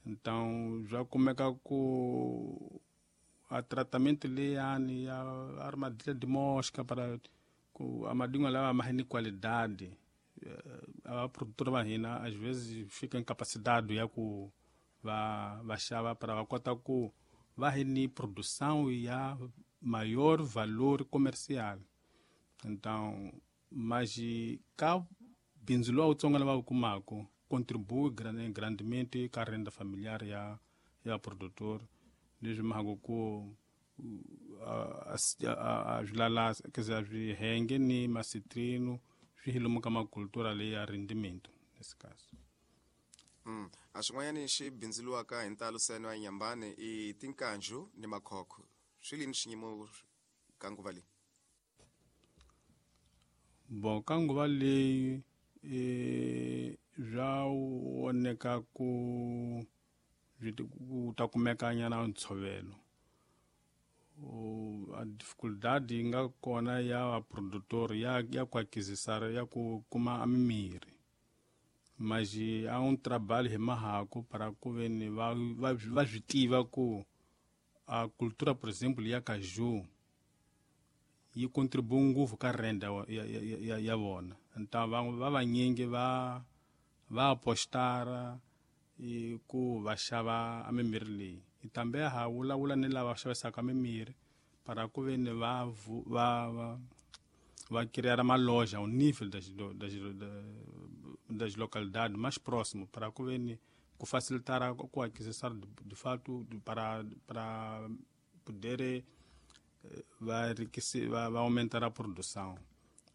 Então já kumeka ku a tratamento leyani ya armadilha de mosca para ku a madingwa lawa ma ni qualidade, a produtora va hina às vezes fica incapacidade ya ku va xava para va kota ku va hi ni produção ya maior valor comercial. Então, mas ka bindzu lowu wutsongo lava wu kumaka contribui grandemente ka renda familiar ya produtor, leswi mhaka ku a swi quer dizer, a swi henge ni macitrino swi hi lomu ka macultura leyi ya rendimento nesse caso. A swin'wanyani xi bindzuriwaka hi ntalo seno ya Nyambani i tinkanju ni makhokho. Swi lini xiyimo ka nguva leyi? Bon, ka nguva leyi swa voneka ku ku ta kumeka nyana ntshovelo. A dificuldade yi nga kona ya vaprodutor ya ku aquisisar ya ku kuma mimirhi, mas há um trabalho hi mahaku para ku veni va swi tiva ku a cultura, por exemplo, ya caju yi contribui ngopfu ka renda ya vona. Então va vanyingi va apostara ku va xava a mimirhi leyi. Também ha vulavula ni lava xavisaka mimirhi para ku veni va criar uma loja ao nível das localidades mais próximo para ku veni ku facilitar ku aquisição de fato para poder va aumentar a produção.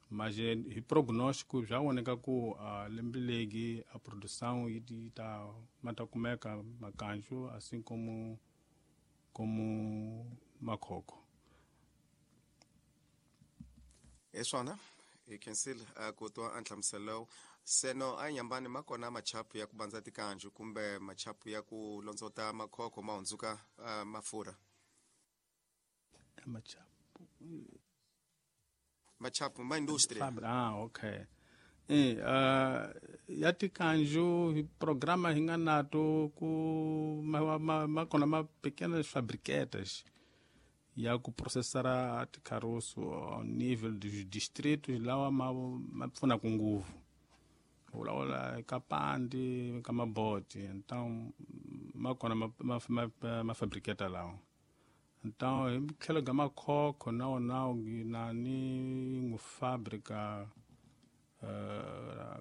Mas hi prognóstico já voneka ku lembe legi a produção yi ta ma ta kumeka makanju assim como makhokho. Hi swona hi khensile ku twa a nhlamuselo seno a Nyambani ma kona machapu ya ku bandza tikanju kumbe machapu ya ku londzota makhokho ma hundzuka mafurha? Machapu ma industria. Okay. Ya tikanju hi programa hi nga nato ku ma kona ma pequenas fabriquetas ya ku processar ticaroço ao nível dos distritos lawa ma pfunaka ngopfu. Vulavula ka Pandi ka Maboti, então ma kona ma fabriqueta lawa. Então hi tlhelo ka makhokho na wona na ni ngu fábrica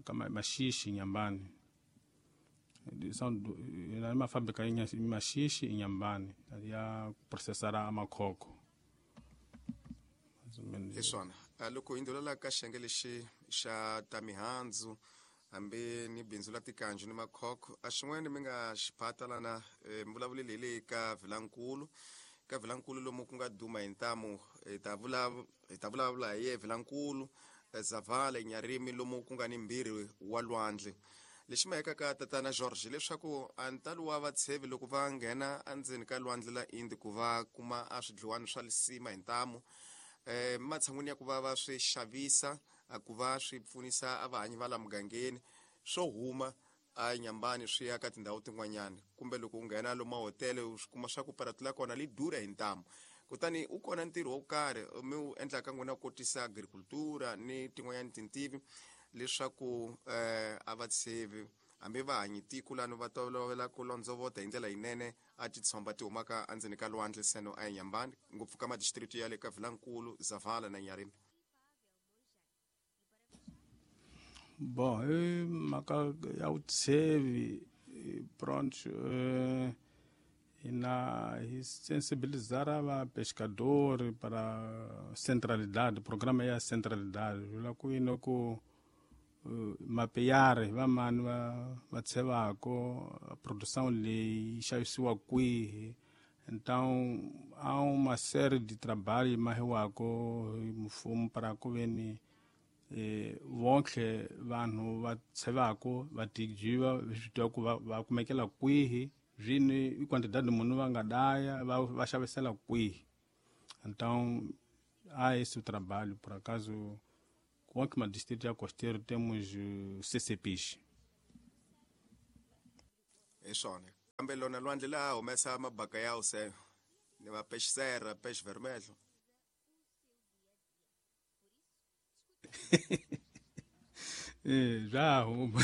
ka Maxixi Nyambani. São na uma fábrica em Maxixi em Nyambani ya processar a makhokho. Hi swona loko hi ndhulela ka xiyenge lexi xa ta mihandzu hambi ni bindzu la tikanju ni makhokho, a xin'wana mi nga xiphata lana mi vulavuleli hi le ka Vilankulu. Ka Vilankulu lomu ku nga duma hi ntamu, hi ta vulavula hi ye Vilankulu, Zavala, Nyarimi lomu ku nga ni mbirhi wa lwandle. Lexi maheka ka tatana George leswaku a ntalo wa vatshevi loko va nghena endzeni ka lwandle la Indi ku va kuma a swidliwani swa lisima hi ntamu, matshan'wini ya ku va va swi xavisa ku va swi pfunisa a vahanyi va la mugangeni swo huma a Nyambani swi ya ka tindhawu tin'wanyana, kumbe loko u nghena lomu mahotele u swi kuma swa ku paratu la kona li durha hi ntamu. Kutani u kona ntirho wo karhi mi wu endlaka n'wina ku kotisa agricultura ni tin'wanyana tintivi leswaku a vatshevi hambi va hanyi tiko lani va tolovela ku londzovota hi ndlela yinene a titshomba ti humaka endzeni ka lwandle seno a Nyambani, ngopfu ka madistrict ya le ka Vilankulu, Zavala na Nyarimi. Bon, hi mhaka ya vutshevi pronto hina hi sensibilizar va pescador para centralidade, programa ya centralidade vula ku yini ku mapeyari va mani va tshevako produção leyi yi xavisiwa kwihi. Então há uma série de trabalho mahiwako hi mfumo para ku veni vonke vanhu va tshevako va tijiva swi tiva ku va kumekela kwihi zvini i quantidade munhu va nga daya va xavisela kwihi. Então há esse trabalho, por acaso com o distrito ya costeiro temos CCPs. É só, né? Kambe lona lwandle laha humesa mabaka ya se ni va peixe serra, peixe vermelho. Já huma.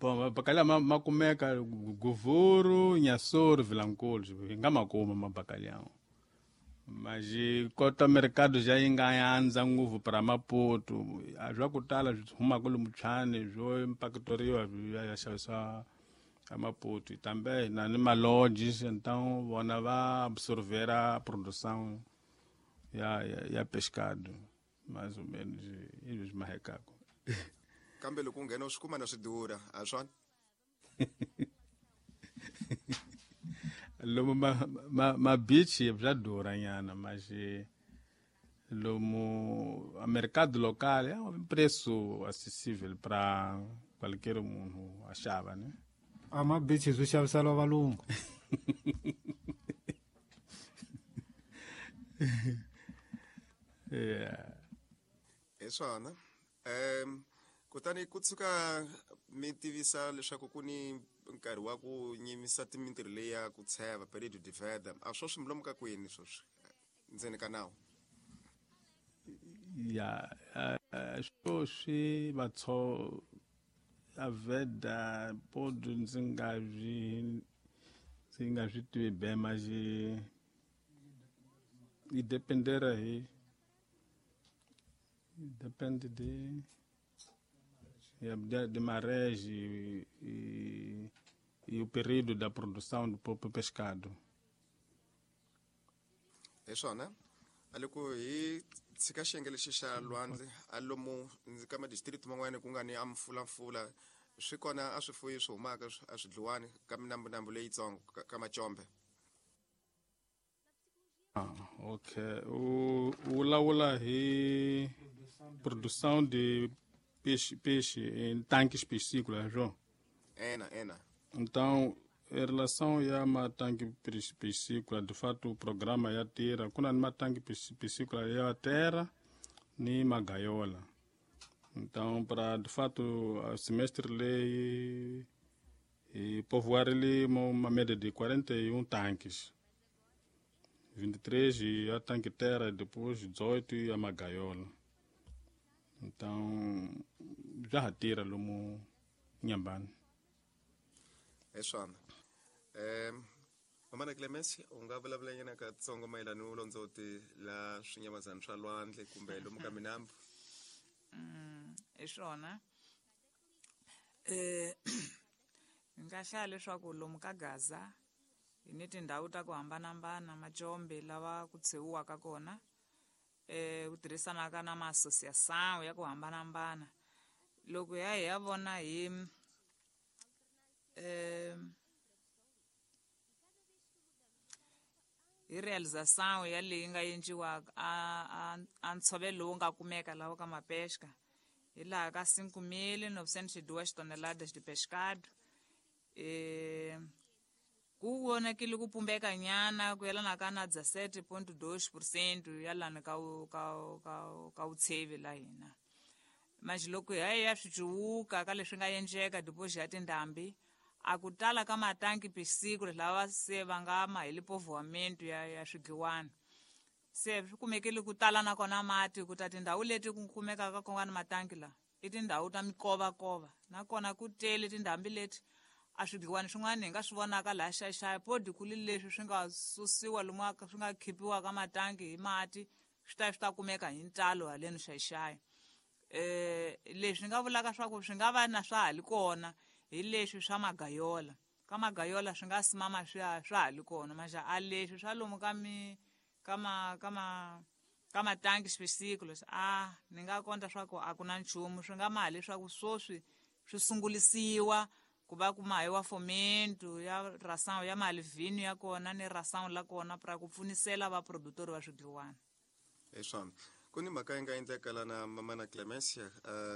Bom, mabacalhau ma kumeka Govuro, Inhassoro, Vilanculos, hi nga ma kuma mabacalhau. Mas kota mercado já yi nga andza ngopfu para Maputo, a swa ku tala swi humaka lomu Tshwane swo impactoriwa swi ya xavisiwa a Maputo. Também na ni malodges, então vona va absorver a produção ya pescado, mais ou menos isso mahekako. Kambe loko u nghena u swi kuma na swi durha, a swona? Lomu ma beach bya durha nyana, mas lomu a mercado local é um preço acessível para qualquer munhu a xava, né? A ma beach swi xaviseriwa valungu. Yeah. Hi swona. Kutani ku tshuka mi tivisa leswaku ku ni nkarhi wa ku nyimisa mintirho leyi ya ku tsheva período de veda, a swo swi milomu ka kwini sweswi ndzeni ka nawu? Ya, swo swi vatso a veda podo ndzi nga swi tivi be, mas yi dependera hi depende de de marés e o período da produção do próprio pescado. Hi swona. A loko hi tshika xiyenge lexi xa lwandle, a lomu ka madistrict man'wana ku nga ni a mfulamfula, swi kona a swifuyi swi humaka a swi dliwani ka minambunambu leyitsongo ka macombe. Ok. U vulavula hi produção de peixe em tanques piscícolas, João? Ena. Então, em relação a uma tanque piscícola, de fato o programa ya tira, kuna ni matanque piscícola ya terra ni magaiola. Então, para de fato o semestre lei e povoar ali uma média de 41 tanques. 23 e a tanque terra, depois 18 e a magaiola. Então, já retira lomu Inhambane. Hi swona. Mamana Clemence, u nga vulavula nyana katsongo mayelana ni vulondzoti la swinyamazana swa lwandle kumbe lomu ka minambu? Hi swona. Ni nga hlaya leswaku lomu ka Gaza hi ni tindhawu ta ku hambanahambana, macombe lava ku tshewiwaka kona, ku tirhisanaka na ma-associação ya ku hambanahambana. Loko hi ya vona hi hi realização ya leyi nga endliwaka a ntshovelo lowu nga kumeka lawa ka mapesca, hi laha ka 5.902 toneladas de pescado. Ku vonakile ku pumbeka nyana ku yelana ka na 17.2% ya lani ka vutshevi la hina. Mas loko hi ya swi cuwuka ka leswi nga endleka depois ya tindhambi, a ku tala ka matanki piscícolas lava se va nga ma hi lipovoamento ya swidliwana. Se swi kumekile ku tala nakona mati ku ta tindhawu leti ku kumekaka ku nga ni matanki la i tindhawu ta mikovakova, nakona ku tele tindhambi leti a swidliwani swin'wana hi nga swi vonaka laha Xai-Xai podi ku li leswi swi nga susiwa lomu swi nga khipiwaka matanki hi mati swi ta kumeka hi ntalo haleni Xai-Xai. Leswi nga vulaka swa ku swi nga va na swa ha li kona hi leswi swa magayola. Ka magayola swi nga simama swa ha li kona, mas a leswi swa lomu ka mi ka ma ka ma ka matanki swisiklo a ni nga konta swa ku a ku na nchumu swi nga ma leswaku swoswi swi sungulisiwa ku va ku mahiwa fomento ya ração ya malivhino ya kona ni ração la kona pra ku pfunisela va produtor va swidliwana. Hi swona. Ku ni mhaka yi nga endleka lana Mamana Clemencia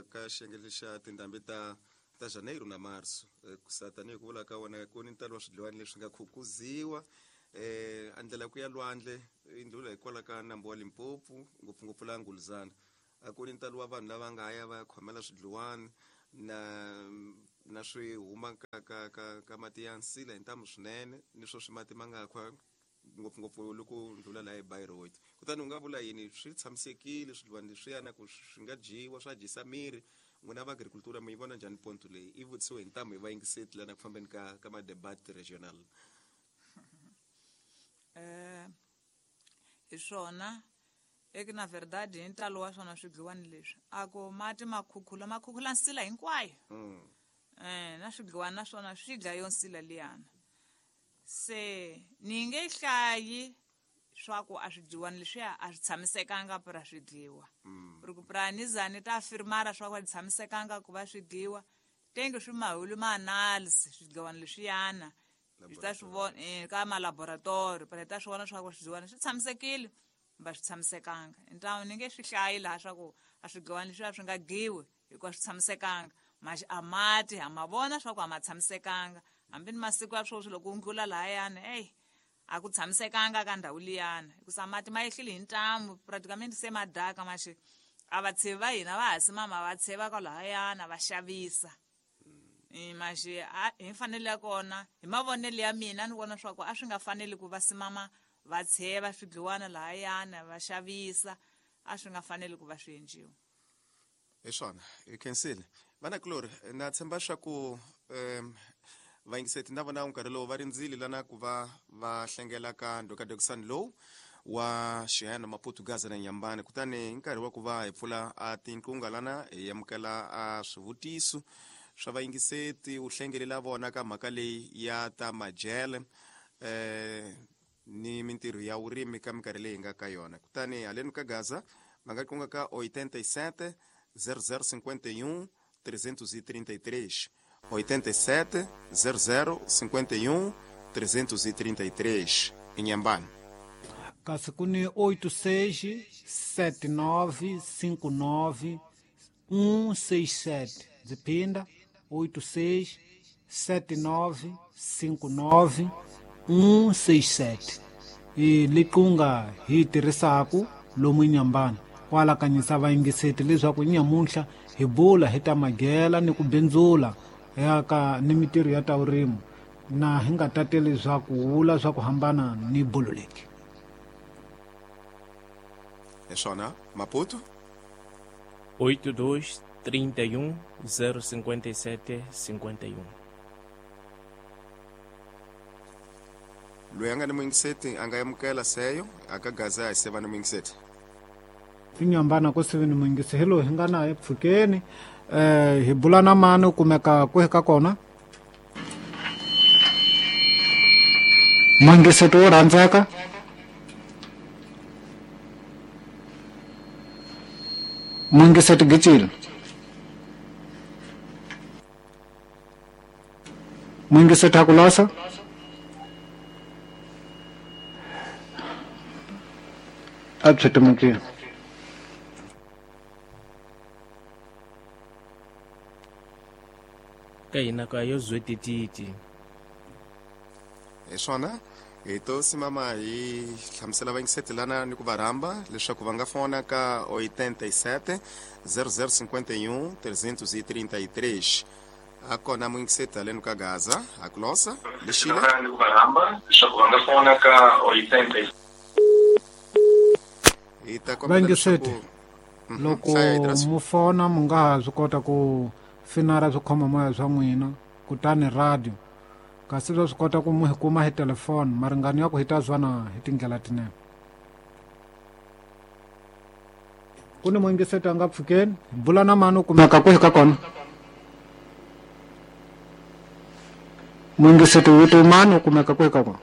ka xiyenge xa tindhambi ta Janeiro na Março, ku sa tanihi ku vula ka wona ku ni ntalo wa swidliwani leswi nga khukuziwa a ndlela ku ya lwandle i ndlula hikwalaho ka nambu wa Limpopo, ngopfungopfu la Nguluzana, a ku ni ntalo wa vanhu lava nga ya va ya khomela swidliwani na na swi huma ka ka ka ka mati ya nsila hi ntamu swinene ni swo swi mati ma nga khwa ngopfungopfu loko ndlula laha eBayreuth. Kutani u nga vula yini, swi tshamisekile swidliwani leswiyana ku swi nga dyiwa swa dyisa miri? N'wina va agricultura mi yi vona njhani ponto leyi i vutisiwe hi ntamu hi vayingiseti lana ku fambeni ka ka ma-debat regional? Hi swona eke na verdade hi ntalo wa swona swidliwani leswi a ku mati ma khukhula ma khukhula nsila hinkwayo. Na swidliwani na swona swi dlaya yo nsila liyana. Se ni nge hlayi swa ku a swidliwani leswiya a swi tshamisekanga pra swi dliwa. Ri ku pra ni za ni ta firmara swa ku a swi tshamisekanga ku va swi dliwa, tenge swi mahulu ma analysis swidliwani leswiyana hi ta swi vona ka ma-laboratory, pra hi ta swi vona swa ku swidliwani swi tshamisekile kumbe a swi tshamisekanga. Ntamu ni nge swi hlayi laha swa ku a swidliwani leswiya swi nga dyiwi hikuva swi tshamisekanga, maxi a mati ha ma vona swa ku a ma tshamisekanga. Hambi ni masiku ya sweswi loko u ndlula lahayani, eyi a ku tshamisekanga ka ndhawu liyana, hikusa mati ma yehlile hi ntamu praticamente se ma daka. Maxi a vatshevi va hina va ha simama va tsheva kwalahayana va xavisa. Maxi hi mfanelo ya kona, hi mavonelo ya mina ni vona swa ku a swi nga faneli ku va simama va tsheva swidliwana lahayana va xavisa, a swi nga faneli ku va swi endliwa. Hi swona, hi khensile vanakulori. Na tshemba swa ku vayingiseti na vona nkarhi lowu va rindzile lana ku va va hlengela ka ndhokadokisani lowu wa xihena Maputo Gaza na Nyambani. Kutani hi nkarhi wa ku va hi pfula a tinqunga lana hi amukela a swivutiso swa vayingiseti, u hlengelela vona ka mhaka leyi ya ta majele ni mintirho ya vurimi ka minkarhi leyi hi nga ka yona. Kutani haleni ka Gaza va nga qunga ka 87 0051 333, 87 0051 333 Inhambane. Kasi ku ni 86 79 59 167. Ndzi phinda 86 79 59 167 i liqunga hi tirhisaku lomu Inhambane ku alakanyisa vayingiseti leswaku nyamuntlha hi bula hi ta magela ni ku bindzula ya ka ni mintirho ya ta vurimi, na hi nga tateli swa ku vula swa ku hambana ni bolo leki. Hi swona, Maputo. 82 31 057 51. Loyi a nga ni muyingiseti a nga amukela seyo aka Gaza hi seva ni muyingiseti. Inhambane ku sivi ni muyingisi hi loyi hi nga naye pfukeni. Hi bula na mani, u kumeka kwihi ka kona? Muyingiseti wo rhandzeka, muyingiseti gicile, muyingiseti hakulosa a byi timukile. Ka hina ka yo zwetititi. Hi swona, hi to simama hi hlamusela vayingiseti lana ni ku va rhamba leswaku va nga fona ka 87 0051 333. A kona muyingiseti haleni ka Gaza hakulosa lexile. Ni ku va rhamba leswaku va nga fona ka 87. Hi ta kombela Vayingiseti, leswaku loko hlaya Idris. Mu fona mu nga ha swi kota ku finara swikhoma moya swa n'wina kutani radio, kasi swa swi kota ku mu hi kuma hi telefoni maringano ya ku hi ta zwana hi tindlela tinene. Ku ni muyingiseti a nga pfukeni, hi bula na mani, u kumeka kwihi ka kona? Muyingiseti vito mani, u kumeka kwihi ka kona?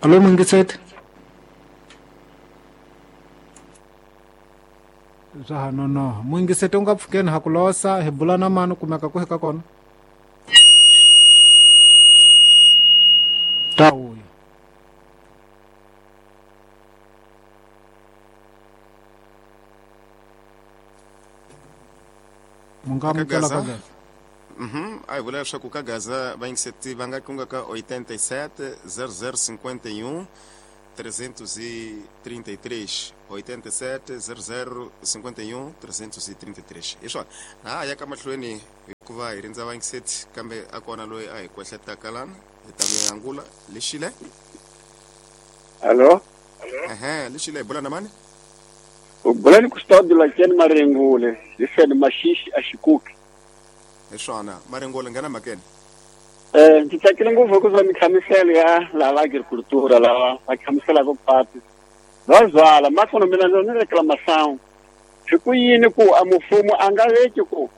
Alo muyingiseti, swa ha nonoha. Muyingiseti u nga pfukeni, ha ku losa, hi bula na mani, u kumeka kwihi ka kona? Ta vuya. Mu nga Ka amukela Gaza? Ka Gaza. A hi vula leswaku ka Gaza vayingiseti va nga qunga ka 87 0051 333 87 00 51 333. Hi swona na ha ya ka mahlweni hikuva hi rindza vayingiseti kambe a kona loyi a hi kwehletaka lana hi ta mi angula. Lexile. Allo. Ehe, lexile, hi bula na mani? U bula ni Custódio Lakeni Marengule, hi feni Maxixi a Xikuki. Hi swona, Marengule, nghena mhakeni. Ndzi tsakile ngopfu hikuva mihlamuselo ya lava agricultura lava va hlamuselaka patu va zwala makono mina ni reclamação. Swi ku yini ku a mfumo a nga veki ku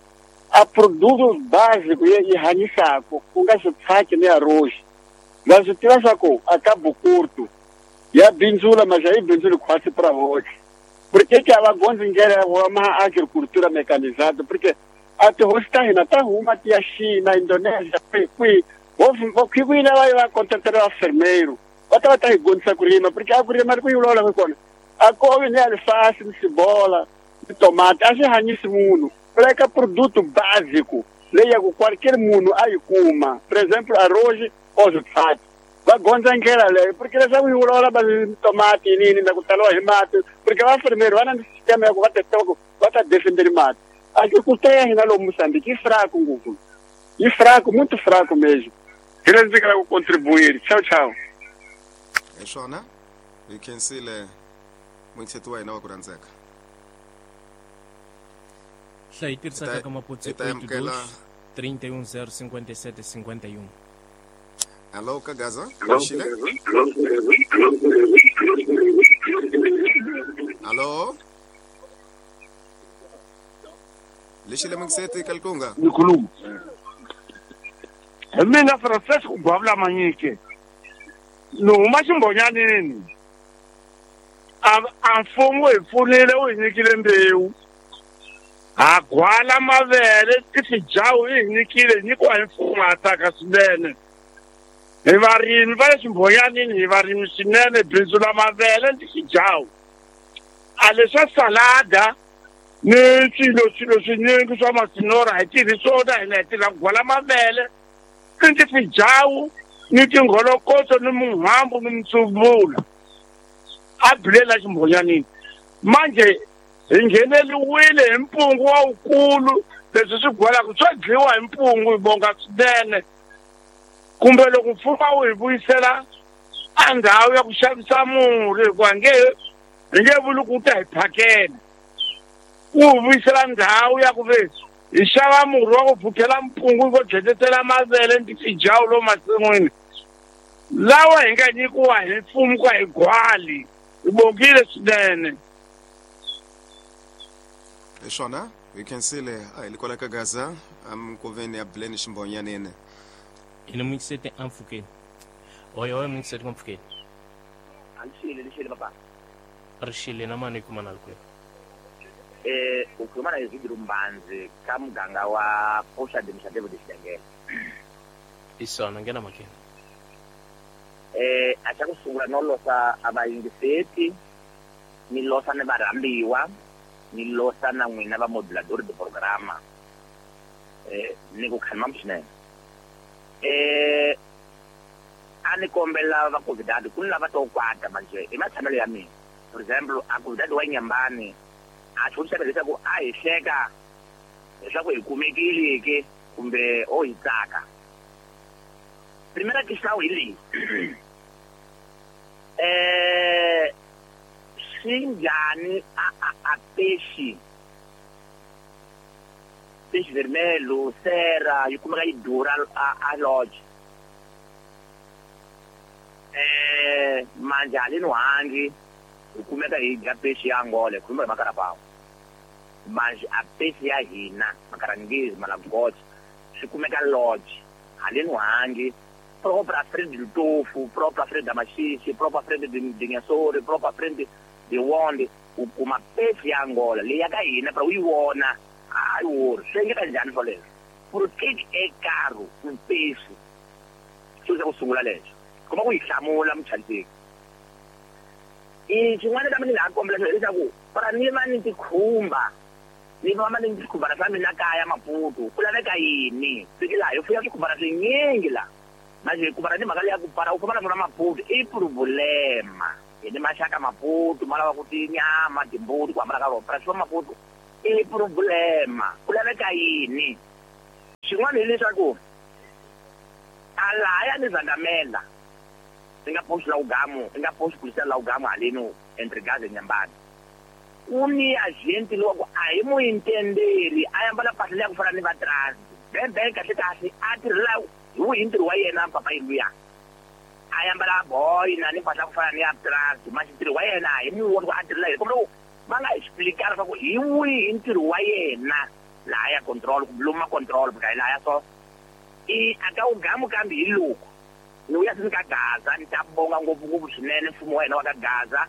a produto básico yi hanyisaka ku nga switshaki ni arroz. Va swi tiva swa ku a ka Bukurtu ya bindzula mas a yi bindzuli khwatsi pra voce. Porque que a va gondzi ndlela ya ma agricultura mecanizada, porque a tihosi ta hina ta huma ti ya China, Indonesia, kwihi vokhwini va va contratela vafermeiro va ta va ta hi gondzisa ku rima, porque a ku rima ri ku yi vulavulaka kona a kovi ni alifasi ni sibola ni tomati a swi hanyisi munhu. Ku laveka produto básico leyi ya ku qualquer munhu a yi kuma, por exemplo arroz ou switshati. Va gondza ndlela leyo, porque leswaku yi vulavula va tomati yinini na ku taliwa hi mati, porque vafermeiro va na sistema ya ku va ta tiva ku va ta defenderi mati. Agricultura ya hina lomu Moçambique yi fraco ngopfu, yi fraco, muito fraco mesmo. Hi leswi ndzi nga ku contribuir. Tchau, tchau. Hi swona, hi khensile muyingiseti wa hina wa ku rhandzeka. Hlayi tirhisaka ka maputsi Hi ta amukela 32 31 057 51. Allo ka Gaza, lexile. Allo. Lexile muyingiseti ka Likunga. Ni khuluma. Hi mina Francisco Gwavula Manyike. Ni huma Ximbonyanini. A mfumo hi pfunile wu hi nyikile mbewu. Ha gwala mavele tifijawu yi hi nyikile, nyikiwa hi mfumo ha tsaka swinene. Hi varimi va le Ximbonyanini, hi varimi swinene, bindzu la mavele ni tifijawu. A leswa salada ni swilo swinyingi swa masinora hi tirhi swona hina hi tirha ku gwala mavele ni tifijawu ni tingholokotso ni muhambu ni mitsuvula a bilela Ximbonyanini. Manje hi ngheneliwile hi mpungu wa wukulu, leswi swi gwalaka swa dliwa hi mpungu, hi bonga swinene. Kumbe loko mfumo wu hi vuyisela a ndhawu ya ku xavisa murhi, hikuva hi nge vuli ku ta hi phakela, wu vuyisela ndhawu ya ku ve hi xava murhi wa ku vhukela mpungu vo dyetetela mavele ni tifijawu lomu masin'wini lawa hi nga nyikiwa hi mfumo ku hi gwali. Hi bongile swinene. Hi swona, hi khensile. A hi le kwala ka Gaza eminkoveni ya Buleni Ximbonyanini. Hi ni muyingiseti a mpfhukeni. Oyo muyingiseti wa mpfhukeni. Alixile, lixile papa. Rixile na mani hi kuma na le kwihi? U khuluma na Ezidro Mbanzi ka muganga wa Poxa de Mixadevo de Xidengele. Hi swona, nghena mhakeni. A xa ku sungula no losa a vayingiseti, ni losa ni varhambiwa, ni losa na n'wina va modulador de programa. Ni ku khanima swinene. A ni kombela va convidado ku ni lava to kwata manje i matshamelo ya mina. For example, a convidado wa Nyambani a xivutiso leswaku a hi hleka leswaku hi kumekile ke kumbe o hi tsaka. Primera questão hi leyi. Swi njhani a peixe peixe vermelho, sera yi kumeka yi durha a lodge. Manje haleni hangi hi kumeka hi dya peixe ya Angola, hi khuluma hi makarapawu. Manje a peixe ya hina makarangezi malagocha swi kumeka lodge haleni hangi, própria frente do Tofu, própria frente da Maxixe, própria frente de Nhassori, própria frente de Wonde, u kuma peixe ya Angola leyi ya ka hina pra u yi vona a yi wori. Swi endleka njhani swoleswo? Por que é caro um peixe? Xo xa ku sungula lexo kuma ku yi hlamula muchanteki. I xin'wana kambe ni nga ha kombela xona hileswaku para ni va ni tikhumba, ni va ni swikhumbana swa mina kaya Maputo, ku laveka yini? Fiki laha hi fuya swikhumbana swinyingi laha. Manje ku para ni mhaka leya ku para u famba na swona Maputo i problema. Hi ni maxaka Maputo ma lava ku tinyama timbuti ku hambana ka rona para swa Maputo i problema ku laveka yini xin'wana hileswaku a lahaya ni Zandamela i nga post la ugamu i nga post policial la ugamu haleno entre Gaza Nyambani ku ni agent lowa ku a hi mu intendeli a ambala mpahla leya ku fana ni va transit bembe kahle kahle a tirhela hi wihi ntirho wa yena papa luya a ambala boy na ni mpahla ku fana ni ya transit manje ntirho wa yena hi mu voni ku a tirhela yini kumbe va nga explicar leswaku hi wihi ntirho wa yena laha ya control kumbe lomu ma control because lahaya so i a ka ugamu kambe hi loko ni vuya sini ka Gaza ni ta bonga ngopfungopfu swinene mfumo wa hina wa ka Gaza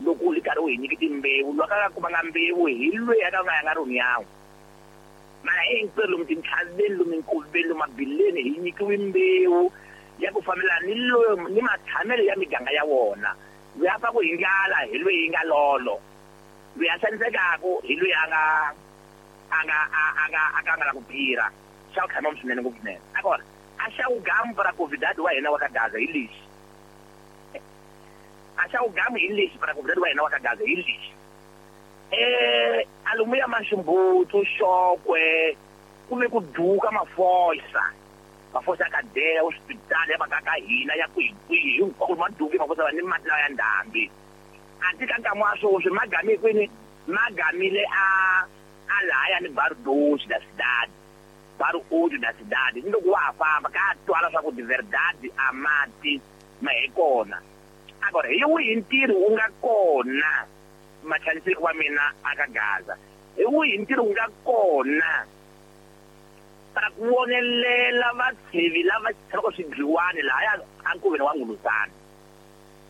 loko wu ri karhi wu hi nyike timbewu loyi a ka kumanga mbewu hi loyi a ka nga yanga roni yawo mara hinkwerhu lomu tintlhaveni lomu minkoveni lomu mabileni hi nyikiwe mbewu ya ku fambelana ni loyi ni matshamelo ya miganga ya wona loyi a faku hi ndlala hi loyi yi nga lolo loyi a xanisekaka hi loyi a nga a nga a nga a ka nga la ku phira xa ku tshama swinene ngopfu swinene agora a xa ugamu para convidado wa hina wa ka Gaza hi lexi a xa ugamu hi lexi para convidado wa hina wa ka Gaza hi lexi alomu ya Maximbutu Xokwe ku ve ku duka mafosa mafosa ya kadeya hospitali ya maka ka hina ya kwihikwihi hinkwako ma duke mafosa va ni mati lawa ya ndhambi a ti ka nkama wa swoswi ma game kwini ma gamile a lahaya ni Bairro Doce da cidade Bairro Oito da cidade ni loko wa ha famba ka twala swa ku de verdade a mati ma hi kona agora hi wihi ntirho wu nga kona machaniseki wa mina a ka Gaza hi wihi ntirho wu nga kona para ku vonelela vatshevi lava tshamaka swidliwani lahaya ankoveni wa Nguluzana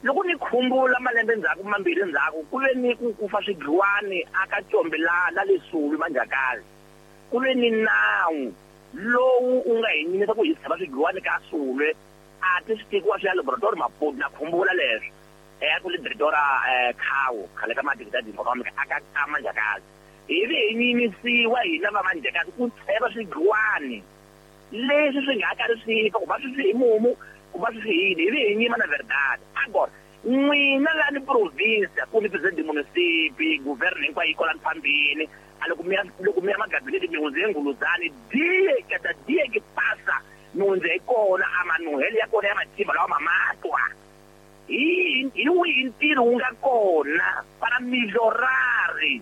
loko ni khumbula malembe ndzhaku mambirhi ndzhaku ku ve ni ku kufa swidliwani aka Combe la le Sulu Manjakazi ku ve ni nawu lowu u nga hi nyimisa ku hi tshama swidliwani ka Sulwe a ti swi tekiwa swi ya laboratory Maputo na khumbula leswo ku le directora Khawu khale ka madikitadi economic aka ka Manjakazi hi ve hi nyimisiwa hina va Manjakazi ku tsheva swidliwani leswi swi nga karhi swi fa ku va swi hi mumu ku va swi yini hi ve hi nyima na verdade agora n'wina la ni province ku ni president munisipi governo hinkwayo yi kwala phambini a loko mi ya magabinete mi hundze Nguluzani die kada die ke pasa mi hundze hi kona a manuhele ya kona ya matimba lawa mamatwa hi wihi ntirho wu nga kona para melhorari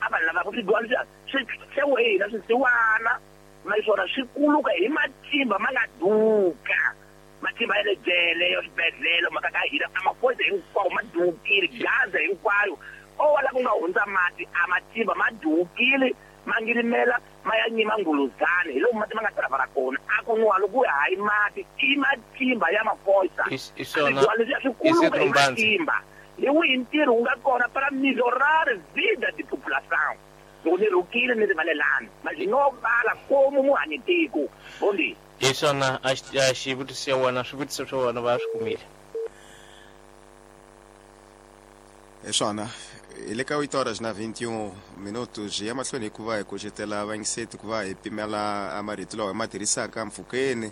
a vanhu lava ku swidliwani swi xewe hina swisiwana naswona swi kuluka hi matimba ma nga duka matimba ya le jele ya swibedhlele maka ka hina a mafosa hinkwawo ma dukile Gaza hinkwayo o la ku nga hundza mati a matimba ma dukile ma ngirimela ma ya nyima Nguluzani hi lomu mati ma nga travara kona a ku nwa loko hayi mati i matimba ya mafosa swi kuluka hi matimba hi wihi ntirho wu nga kona para melhorar vida de população loko ni rhukile ni rivalelani mas no vala komu muhanyi tiko bondi hi swona a xivutiso ya wena swivutiso swa wena va swi kumile hi swona hi le ka 8 horas na 21 minutos ya mahlweni hikuva hi kucetela vayingiseti ku va hi pimela marito lawa hi ma tirhisaka mpfhukeni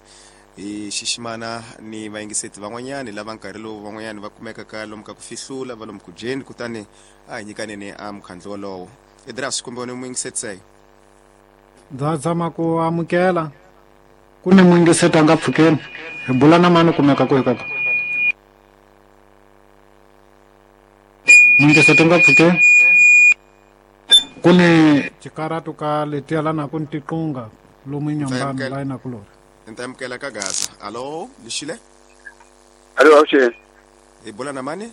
hi xiximana ni vayingiseti van'wanyani lava nkarhi lowu van'wanyani va kumekaka lomu ka ku fihlula va lomu ku dyeni kutani a hi nyikaneni a mukhandlu wolowo Edras kumbe wena muyingiseti seyo ndza tshama ku amukela ku ni muyingiseti a nga pfukeni hi bula na mani kumeka ku hi kaka muyingiseti nga pfukeni ku ni tikaratu ka letiya lana ku ni tiqunga lomu Nyambani la ina kulori ni ta amukela ka Gaza alo lixile alo avuxeni hi bula na mani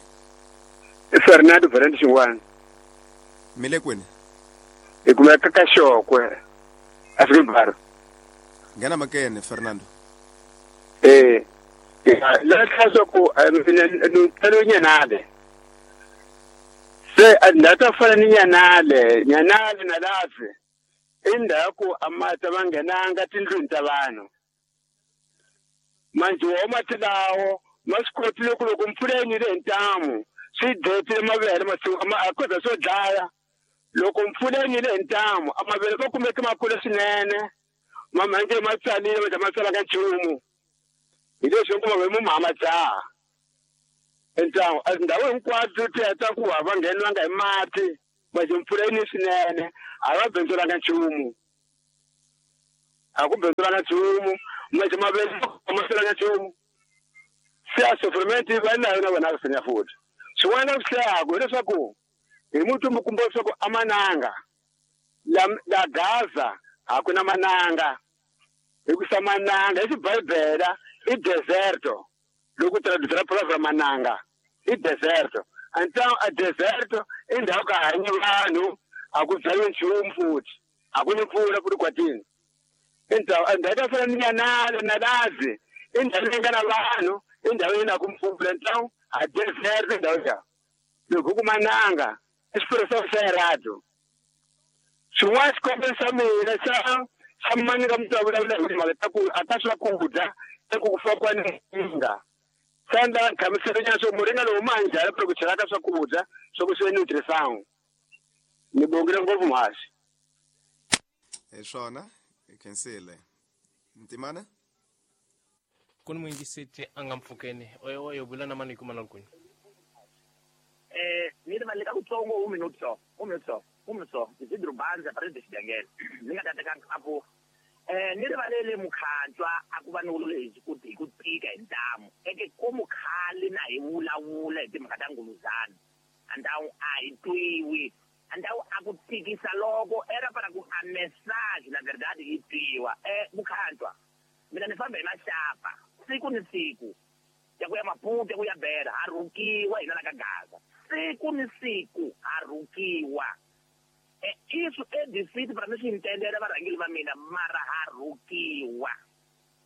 i Fernando Valente Xingwana mi le kwini hi kumeka ka Xokwe African Bar nghena makene Fernando la swa ku mina Nyanale se a ndhawu ta fana ni Nyanale Nyanale na Lave i ndhawu ku a mati ma nghenanga tindlwini ta vanhu manjhe wo mati lawo ma swi kotile ku loko mpfula yi nile hi ntamu swi dletile mavele masiku a kota swo dlaya loko mpfula yi nile hi ntamu a mavele ma kumeke ma kula swinene mamhange ma tsalile ma ma tsalanga nchumu hi leswi ku mavele mu ma dzaha Então a tindhawu hinkwato ti heta ku a va ngheniwanga hi mati manje mpfula yi ni swinene a va bindzulanga nchumu a ku bindzulanga nchumu manje mavele ma hlulanga nchumu se a sofrimenti va nayo na vona senya futhi swin'wana swi hlayaku hileswaku hi muti mi kumba leswaku a mananga la Gaza a ku na mananga hikusa mananga hi xibibele i deserto loko traduziram a palavra mananga i deserto. Então a deserto i ndhawu ka hanyi vanhu a ku byariwi nchumu futhi a ku ni mpfula ku ri kwatini. Então a ndhawu ta fana ni Nyanala na Lazi i ndhawu leyi nga na vanhu i ndhawu leyi na ku mpfula. Então a deserto i ndhawu ya loko ku mananga i expressão xa errado. Swin'wana xikombelo xa mina xa mani ka muti wa vulavula hi timhaka ta ku a ta swakudya eku ku fakiwa ni nga sanda nhlamuselo swo muringa lowu ma njhani ku chela ka swakudya swa ku swi nutrição ni bongile ngopfu mhasi. Hi swona hi khensile Ntimana ku ni muyingiseti a nga mpfukeni oyo vula na mani hi kuma na kwini. Ni rivaleka kutsongo 1 minuto só 1 minuto só 1 minuto só Isidro Banza para de xidengele ni nga ta teka apo ni rivalele mukhantswa a ku va ni wulu hi ku hi ku tika hi ntamu eke ko mukhali na hi vulavula hi timhaka ta nguluzana andawu a hi twiwi andawu a ku tikisa loko era para ku a message na verdade yi twiwa. Mukhantswa mina ni famba hi maxapa siku ni siku ya ku ya Maputo ya ku ya Beira ha rhukiwa hina la ka Gaza siku ni siku ha rhukiwa. Isso é difícil para mim se entender varhangeli va mina mara ha rhukiwa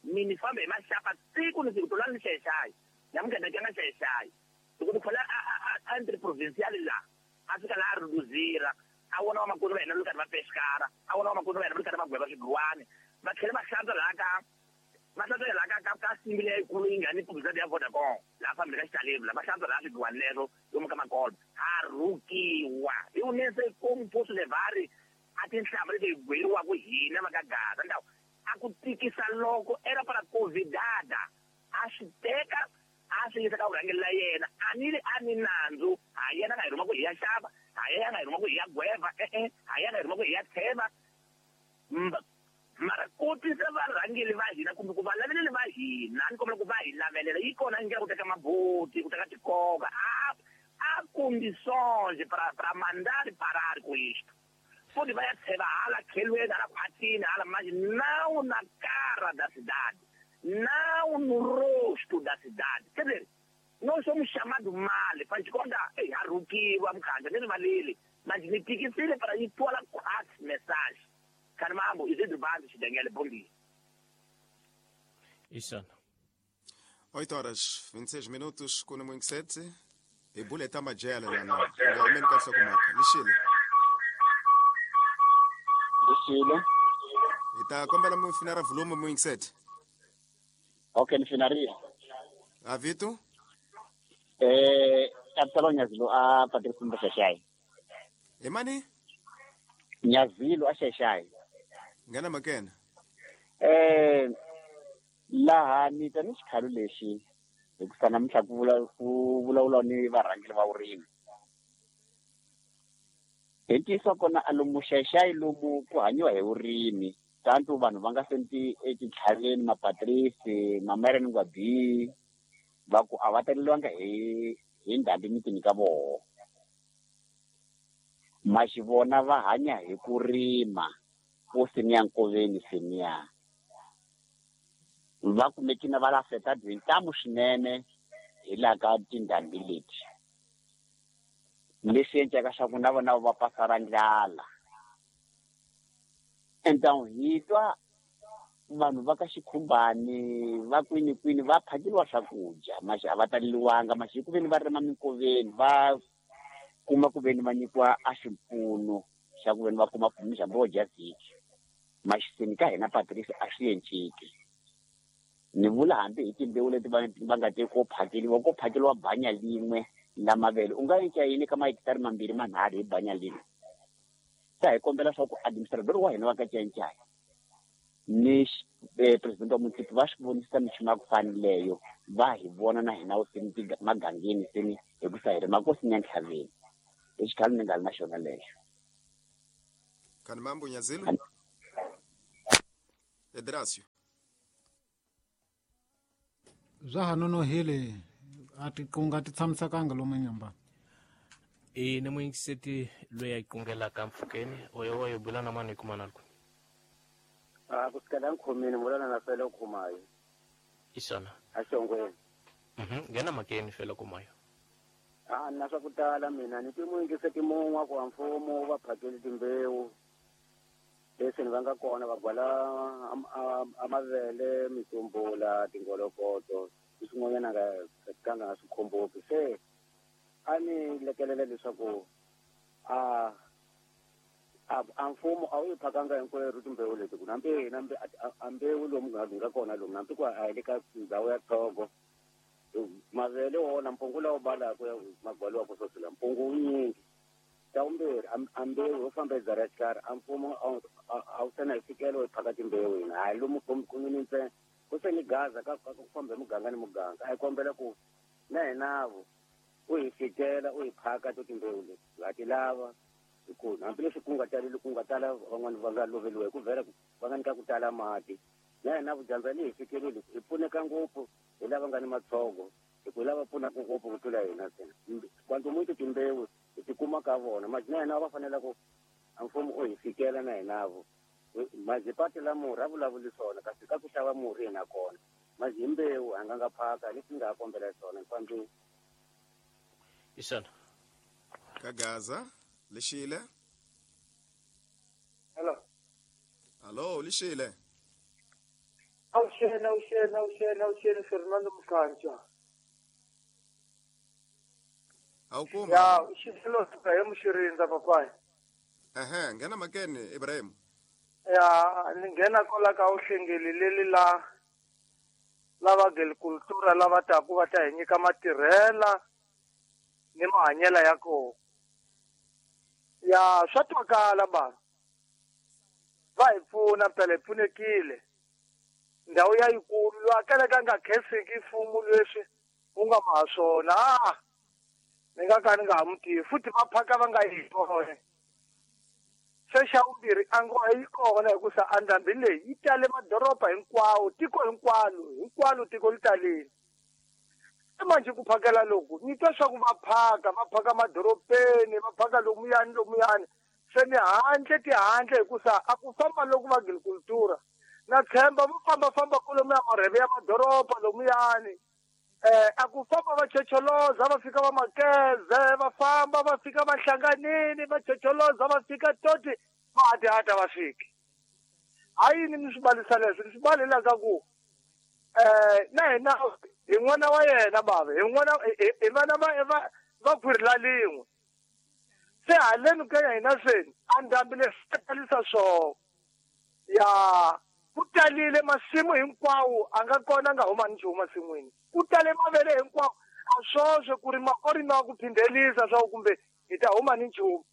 mini fambe hi maxapa siku ni siku tolani ni xayaxayi namuntlha ni nga xayaxayi loko ni khola a entre provincial la a fika laha a ruduzira a vona vamakoti va hina va karhi va pexikara a vona vamakoti va hina va karhi va gweva swigwani va tlhela va hlantswa laha ka va hlantswa laha ka simbi leyikulu yi nga ni publicity ya Vodacom laha fambile ka xitaleni la va hlantswa laha swigwani leswo lomu ka makolo ha rhukiwa hi unese como posso levar a tinhlamba leti hi gweriwaka hina va ka Gaza ndhawu a ku tikisa loko era para convidada a swi teka a swi yisa ka vurhangeri la yena a ni ri a ni nandzu ha yena nga hi rhuma ku hi ya xava ha yena nga hi rhuma ku hi ya gweva e-e ha yena nga hi rhuma ku hi ya tsheva mara kotisa varhangeri va hina kumbe ku va laveleli va hina ni kombela ku va hi lavelela yi kona ndlela ku teka maboti ku teka tikoka a condições para mandar parar com isto. Pode vai tsheva hala khelweni hala khwatini hala manje não na cara da cidade, não no rosto da cidade. Quer dizer, nós somos chamados mal, faz de conta, ei, arrukiwa mkhanja ni rivaleli, mas ni tikisile para ir tola quatro message. Carmambo, Isidro Banza xidengele, bom dia. Isso. 8 horas 26 minutos com o 7. Hi buleta majele lana nga humeni ka nhlokomhaka lixile lixile hi ta kombela mi finara volume mu yingisete. Okay ni finaria a vito Absalom Nyazilo a Patrice Mboshashai hi mani Nyazilo a Xaxai nghena makena laha ni ta ni xikhalo lexi hikusa namuntlha ku vulavula ni varhangeri va vurimi hi ntiyiso kona a lomu Xaxai lomu ku hanyiwa hi vurimi tanto vanhu va nga senti etintlhaveni mapatrisi mamereni ngwabi va ku a va taleliwanga hi ndhambi mitini ka voho maxivona va hanya hi ku rima ko simiya nkoveni simiya va kumekina va la afetado hi ntamu swinene hi laha ka tindhambi leti leswi endlaka swa ku na vona va pasa ra ndlala. Então hi twa vanhu va ka xikhumbani va kwini kwini va phakeriwa swakudya maxi a va taleliwanga maxi ku veni va rima minkoveni va kuma ku veni va nyikiwa a xipfuno xa ku veni va kuma pfuno dya vhiki maxiseni ka hina Patrice a swi enciki ni vula hambi hi timbewu leti va nga te ko phakeriwa banya lin'we la mavele u nga enca yini ka mahekitari mambirhi manharhu hi banya lin'we sa hi kombela swa ku administrator wa hina wa ka Cancaya Ni president wa municipio va swi vonisa minchumu ya ku fanileyo va hi vona na hina seni magangeni seni hi ku sa hi ri makosini ya ntlhaveni. I xikhalo ni nga ri na xona lexo. Kani mambo Nyazilu? Edrasio. Bya ha nonohile a tiqunga ti tshamisekanga lomu nyamba. I ni muyingiseti loyi a qungelaka mpfhukeni oyo wa yo bula na mani kuma na ku. A ku sikela nkhomini vulana na fela khumayo. Isona. A xongweni. Ngena makeni fela kumayo. A na swa ku tala mina ni ti muyingiseti mun'we ku mfumo va phakeli timbewu. Leswi ni va nga kona va gwala amavele mitumbula tingolokoto swin'wanyana nga ka nga swi khomboki se a ni lekelela leswaku a mfumo a wu yi phakanga hinkwerhu timbewu leti ku nambe nambe a mbewu lomu nga kona lomu nambi ku a hi le ka ndhawu ya Togo mavele wona mpungu lawu balaka magwaliwaka swoswi mpungu wu nyingi. Ta vumbirhi a mbewu yo famba hi ra xikarhi a mfumo a wu sena hi fikelo hi phaka timbewu hina hayi lomu kumini ntsena ku se ni gaza ka ku famba hi muganga ni muganga a hi kombela ku na hinavo u hi fikela u hi phaka to timbewu leti ha ti lava hi ku hambileswi ku nga taleli ku nga tala van'wani va nga loveliwa hi ku vhela va nga nyika ku tala mati na hina vudyandza leyi hi fikeleli hi pfuneka ngopfu hi lava nga ni matshogo hi ku lava pfunaka ngopfu ku tlula hina ntsena kwantomuntu timbewu hi ti kuma ka vona mati na hina va fanele ku a mfumo u hi fikela na hinavo mazipati la murhi a vulavuli swona kasi ka ku xava murhi hina kona mazi hi mbewu a nga nga phaka leswi nga ha kombela swona ni fambile. Isona. Ka Gaza lexile. Hello. Hello lexile. Awuxeni Fernando Mkancha. Awukuma. Ya, xilo Ibrahim Xirindza papai. Ehe, nghena makeni Ibrahim. Ya, ni nghena kwala ka uhlengeli leli la lava agricultura lava taku va ta hi nyika matirhela ni mahanyela ya kona. Ya, swa twakala bava. Va hi pfuna phela hi pfunekile. Ndhawu ya yikulu loyi a kalaka nga khenseki mfumo leswi wu nga maha swona. Ni nga ka ni nga ha mu tivi futhi va phaka va nga yi vona. Se xa vumbirhi a ngo yi kona hikusa a ndhambi leyi yi tale madoroba hinkwawo tiko hinkwalo tiko li talile. Se manje ku phakela loku ni twa swa ku va phaka madorobeni va phaka lomuyani se ni handle tihandle hikusa a ku famba loku va agricultura na tshemba vo fambafamba kolomuya marheve ya madoroba lomuyani. A ku famba va chocholoza va fika va makeze va famba va fika va hlanganini va chocholoza va fika toti va hatihata va fiki. Ha yini ni swi balisa leswi ni swi balelaka ku na hina hi n'wana wa yena bava hi n'wana hi vana va khwiri la lin'we se haleni ka ya hina seni a ndhambi leswi talisa swona ya ku talile masimu hinkwawo a nga kona nga huma ni nchumu masin'wini ku tale mavele hinkwawo a swoswe ku rima ko rimiwa ku phindhelisa swa kumbe hi ta huma ni nchumu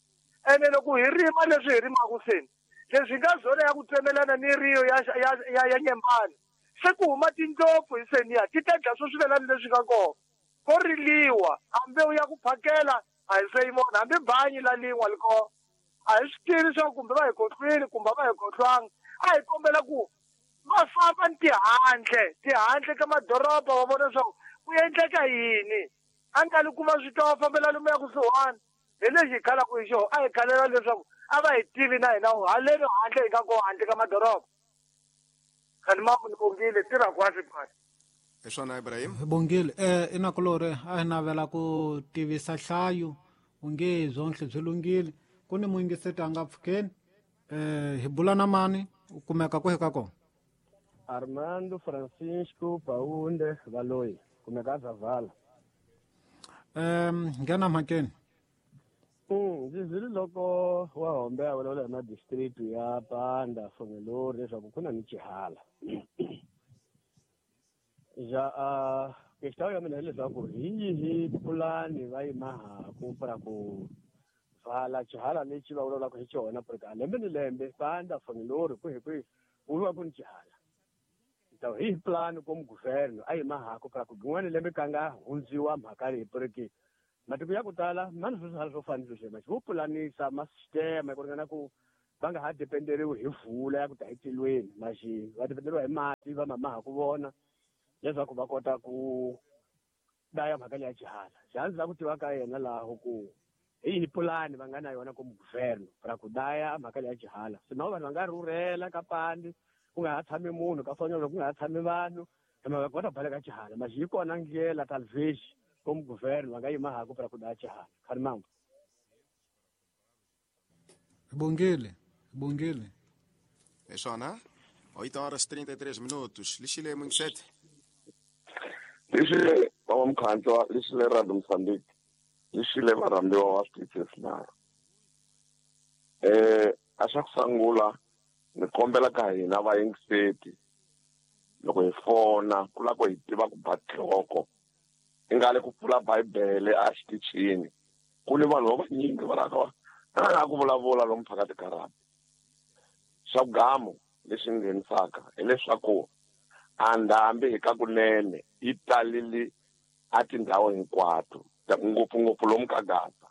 ene loko hi rima leswi hi rimaka seni leswi nga zona ya ku tsemelana ni riyo ya nyembani se ku huma tindlopfu hi seniya ti ta dya swo swivelani leswi nga kona ko riliwa a mbewu ya ku phakela a hi se yi vona hambi banyi la lin'wa li kona a hi swi tivi swa kumbe va hi kotlwini kumbe va hi kotlwanga a hi kombela ku va famba ni tihandle ka madoroba va vona leswaku ku endleka yini a nga li kuma swi twa va fambela lomuya kusuhani hi lexi hi khalaka hi xona a hi khalela leswaku a va hi tivi na hina haleni handle hi nga kona handle ka madoroba. Khani mambo ni bongile tirha kwasi phasi. Hi swona Ibrahim. Hi bongile inakulore a hi navela ku tivisa hlayo unge byonhle byi lunghile ku ni muyingiseti a nga pfukeni hi bula na mani u kumeka kwihi ka kona. Armando Francisco Paunde Valoyi kumeka Zavala. Nghena mhakeni. Ndzi zwile loko wa hombe a vulavula hi madistrict ya Panda Fongelori leswaku ku na ni xihala. Ja questão ya mina hileswaku hi yihi pulani va yi mahaku para ku vala xihala lexi va vulavulaka hi xona porque a lembe ni lembe Panda Fongelori kwihi kwihi Ku va ku ni xihala. Então hi plano como governo a yi mahako para ku rin'wana lembe ka nga hundziwa mhaka leyi porque matiko ya ku tala ma ni swihala swo fana ni sweswi vo pulanisa ma sistema ku ringana ku va nga ha dependeriwi hi vula ya ku ta etilweni maxi va dependeriwa hi mati va mamaha ku vona leswaku va kota ku daya mhaka leya xihala. Xihala ndzi lava ku tiva ka yena laho ku hi yihi pulani va nga na yona como governo para ku daya mhaka leya xihala. Sino vanhu va nga rhurhela ka pandi ku nga ha tshami munhu ka Fonyolo ku nga ha tshami vanhu hi mhaka ku va ta baleka xihala. Maxi yi kona ndlela talvez como governo va nga yima hako para ku daya xihala. Khani mambo. Bongile, bongile. É só, né? 8 horas 33 minutos. Lixile Mungisete. Lixile baba Mkhantswa, lixile Radio Mozambique. Lixile varhambiwa wa switichi na. A xa ku sungula ni kombela ka hina vayingiseti loko hi fona ku lava ku hi tiva ku ba nhloko i nga le ku pfula bibele a xitichini ku ni vanhu va vanyingi va lava ku vulavula lomu phakathi ka rhabi. Xa vugamu lexi nghenisaka hileswaku a ndhambi hi ka kunene yi talile a tindhawu hinkwato ngopfungopfu lomu ka Gaza.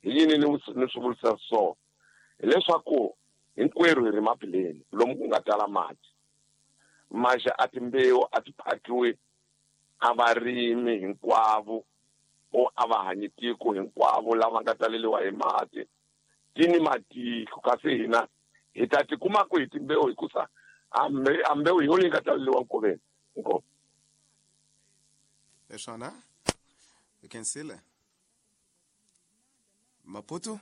Hi yini ni swi vurisa so hileswaku hinkwerhu hi ri mapileni lomu ku nga tala mati maxa a timbewu a ti phakiwi a varimi hinkwavo o a va hanyi tiko hinkwavo lava nga taleliwa hi mati ti ni matiko kasi hina hi ta ti kuma ku hi timbewu hikusa a mbewu hi yona yi nga taleliwa nkoveni inkomu. Eswana Kensile Maputo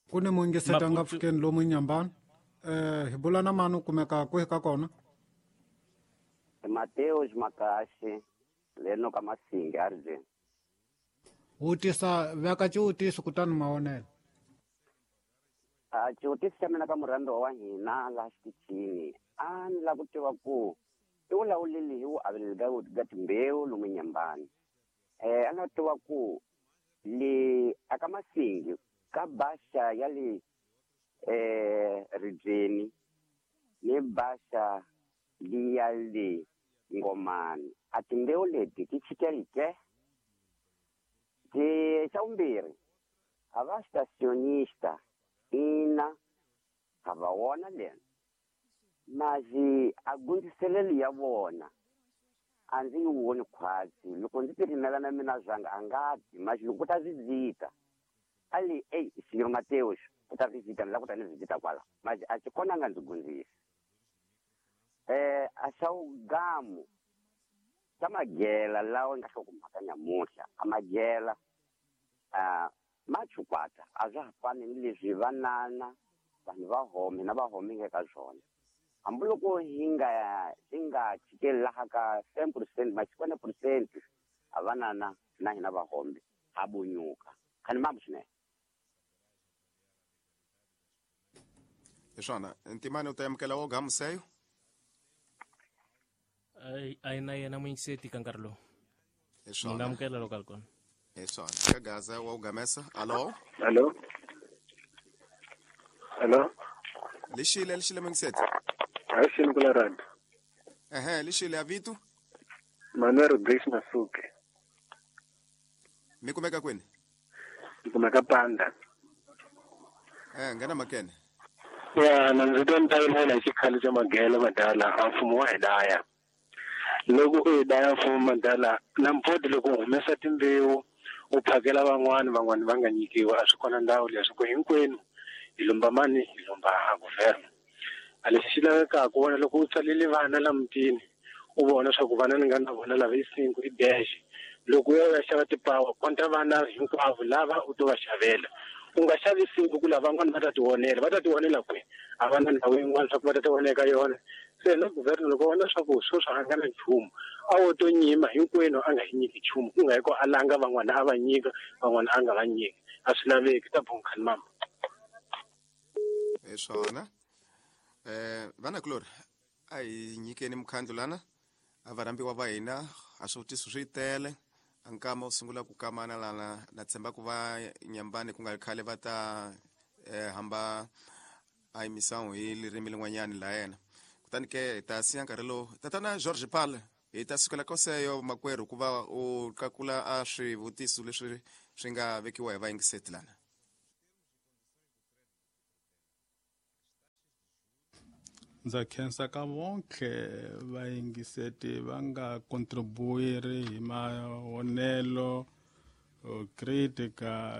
ku ni muyingiseti a nga pfukeni lomu Nyambani. Hi bula na mani u kumeka kwihi ka kona? Mateus Makashi leno ka Masingi arijeni. Vutisa veka xiwutiso kutani mavonelo. A xiwutiso xa mina ka murhambiwa wa hina laha xitichini a ni lava ku tiva ku i vulavuleli hi ku aveleli ka timbewu lomu Nyambani. A ni lava ku tiva ku le aka Masingi ka baxa ya le ribyeni ni baxa liya le Ngomani a timbewu leti ti chikeli ke? Xa vumbirhi a va stationista ina a va wona lena mazi a gundziselelo ya vona a ndzi yi voni khwatsi loko ndzi ti rimela na mina zwanga a nga ti mazi loko ku ta visita a li ei Senhor Mateus ku ta visita ni lava ku ta ni visita kwala mazi a xi kona a nga ndzi gundzisi. A xa wugamu xa magela lawa nga hlokomhaka nyamuhla a magela ma chukwata a swa ha fani ni leswi vanana vanhu va home na va home nga ka swona hambiloko hi nga chikeli laha ka 10% machikwana percent a vanana na hina va home ha bunyuka khani mambo swinene. Eswana ntimani u ta amukela wo gamuseyo a yi na yena muyingiseti ka nkarhi lowu ni nga amukela loko a ri kona. Eswana ka Gaza wa ugamesa. Allo allo allo lixile lixile muyingiseti. A xini ku la rand. Ehe lixile a vito Manuel Rodrigues Masuke. Mi kumeka kwini? Mi kumeka Panda. Nghena makene. Ya na ndzi twa ni ta vilela hi xikhale xa magela madala a mfumo wa hi daya. Loko u hi daya mfumo madala na mpfoti loko u humesa timbewu u phakela van'wani van'wani va nga nyikiwa a swi kona ndhawu leswi ku hinkwenu hi lomba mani hi lomba governo. A lexi xi lavekaka wona loko u tsalele vana la mutini u vona swa ku vana ni nga na vona lava i 5 i dash loko u ya u ya xava tipawa konta vana hinkwavo lava u to va xavela u nga xavi 5 ku lava van'wani va ta ti vonela va ta ti vonela kwihi a va na ndhawu yin'wana swa ku va ta ti vona eka yona. Se na governo loko vona swa ku sweswi a nga na nchumu a wo to nyima hinkwenu a nga hi nyiki nchumu ku nga hi ku a langa van'wana a va nyika van'wana a nga va nyiki a swi laveki ta bonkhani mama. Eswona vana kulori a hi nyikeni mukhandlu lana a varhambiwa va hina a swivutiso swi tele a nkama wu sungula ku kamana lana na tshemba ku va Nyambani ku nga ri khale va ta Hamba a emissão hi ririmi lin'wanyani la yena. Kutani ke hi ta siya nkarhi lowu tatana George Pal hi ta sukela koseyo makwerhu ku va u qakula a swivutiso leswi swi nga vekiwa hi vayingiseti lana. Ndza khensa ka vonke vayingiseti va nga contribuiri hi mahonelo, critica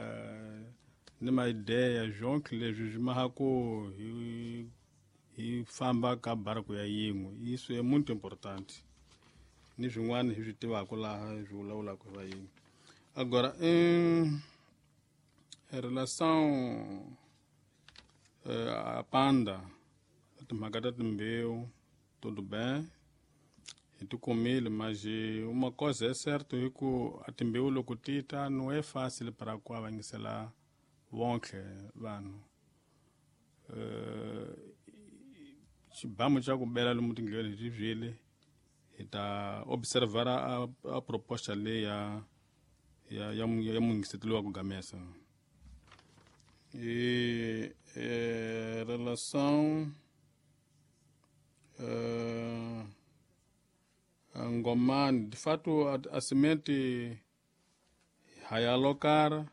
ni maideya zvonke leswi swi maha ku hi famba ka barco ya yin'we. Isso é muito importante. Ni swin'wana hi swi tivaka laha hi swi vulavulaka hi vayingi. Agora, em relação a panda, timhaka ta timbewu, tudo bem, hi ti kumile, mas uma coisa é certo hi ku a timbewu loko ti ta não é fácil para ku avangisela vonke vanhu. Xibamu xa ku bela lomu tindleleni hi ti byele hi ta observara a proposta leyi ya muyingiseti loyi wa ku gamesa. E relação Ngomani, de fato a semente hayalocar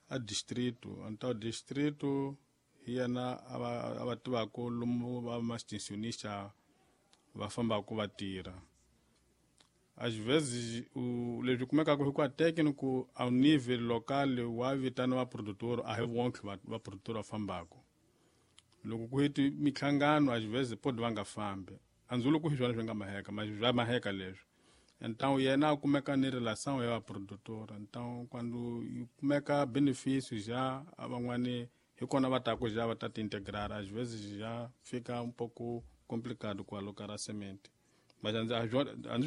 a distrito, então distrito yena a va tivaka lomu va ma-extensionista va fambaka va tirha. Às vezes leswi kumekaka hi ku a técnico ao nível local wa vitaniwa produtor, a hi vonke va produtor va fambaka. Loko ku heti minhlangano às vezes pode va nga fambi. A ndzi vuli ku hi swona swi nga maheka, mas swa maheka leswi. Então yena a kumeka ni relação ya va produtor. Então quando yi kumeka benefício já a van'wani hi kona va taku já va ta ti integrar, às vezes já fica um pouco complicado ku alocar a semente. Mas a ndzi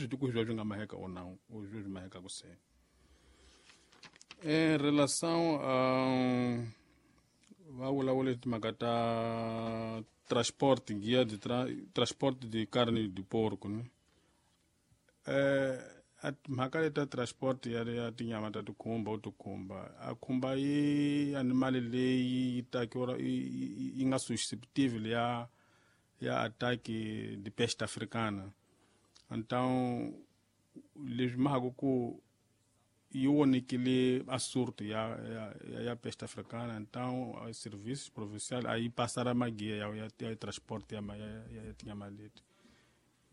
swi tivi ku hi swona swi nga maheka ou não, ou swi mahekaku se. Em relação a va vulavula timhaka ta transporte, guia de transporte de carne de porco, né? A timhaka leti ta transport ya tinyama ta tikhumba u tikhumba a khumba yi animal leyi yi takiwa yi nga susceptible ya ataque de peste africana. Então leswi mahaka ku yi vonekile a surto ya peste africana. Então a serviço provincial aí passara maguia ya transport ya tinyama leti.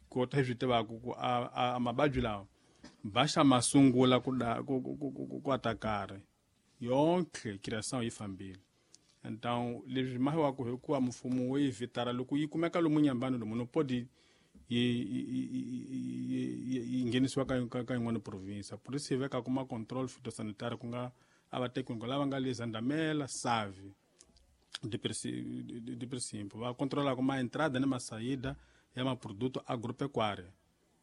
Kota hi swi tivaka ku a mavabyi lawa baxa ma sungula ku atakare yonke criação yi fambile. Então leswi mahiwaka hikuva mfumo wo yi vitara loko yi kumeka lomu nyambani lomu no pode yi nghenisiwa ka yin'wana province. Por isso hi vekaka ma control phytosanitary ku nga a va técnico lava nga le Zandamela, Save, de princípio va controlaka ma entrada ni ma saída ya ma produto agropecuária.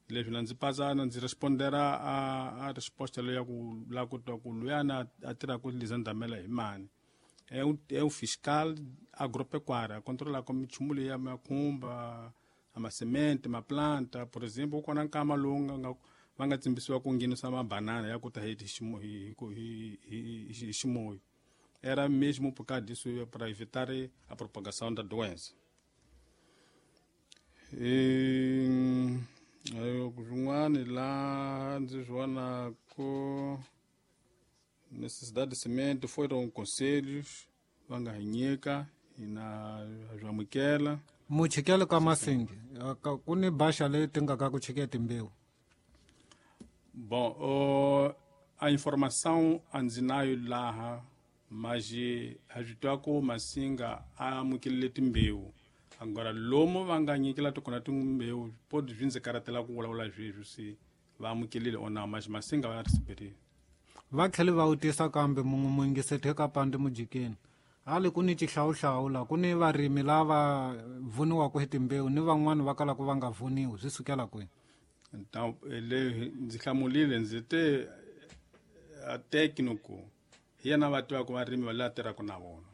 Leswi na ndzi pasa na ndzi respondera a resposta leyi ya ku la ku twa ku luyana a tirhaka le Zandamela hi mani. É o fiscal agropecuária, controlaka minchumu leyi ya makhumba, a semente, ma planta, por exemplo, kona nkama lowu nga va nga tsimbisiwa ku nghenisa mabanana ya ku ta hi ximoyo. Era mesmo por causa disso para evitar a propagação da doença. Swin'wana laha ndzi swi vonaku necessidade de semente foram conselhos va nga hi nyika hina bya amukela. Muchikelo ka Masingi ku ni baxa leyi ti nga ka ku chike timbewu. Bom, a informação a ndzi nayo laha, mas ha swi twa ku Masinga a amukelile timbewu. Agora lomu va nga nyikela tikona timbewu pode swi ndzi karhatela ku vulavula sweswi se va amukelile or não, mas Masinga va receberile. Va tlhele va vutisa kambe mun'we muyingiseti eka Pandi Mujikeni. Hali ku ni xihlawuhlawu la ku ni varimi lava vuniwaka hi timbewu ni van'wani va kalaka va nga vuniwi, swi sukela kwini? Então le ndzi hlamulile ndzi te a técnico hi yena va tivaka varimi va laha tirhaka na vona.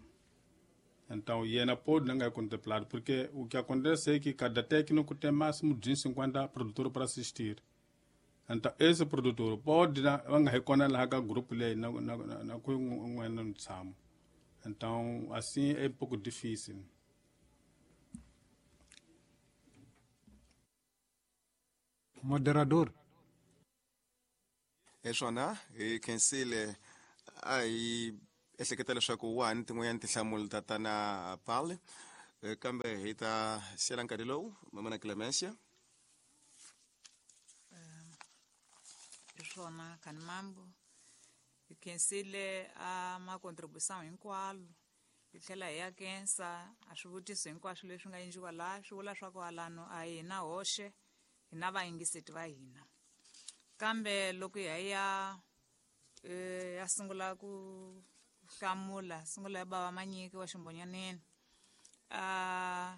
Então yena pode não contemplar, porque o que acontece é que cada técnico tem máximo de 50 produtores para assistir. Então esse produtor pode va nga hi kona laha ka group leyi na ku n'wana ntshamo. Então, assim é um pouco difícil. Moderador. Hi swona hi khensile a hi ehleketa leswaku wa ha ni tin'wanyana tinhlamulo tatana Pali, kambe hi ta siyela nkarhi lowu mamana Clemencia. Hi swona Khanimambo, hi khensile a macontribution hinkwalo, hi tlhela hi ya khensa a swivutiso hinkwaswo leswi nga endliwa laha, swi vula swa ku alano a hina hoxe hina vayingiseti va hina. Kambe loko hi ya ya sungula ku hlamula, sungula ya bava Manyiki wa Ximbonyaneni, a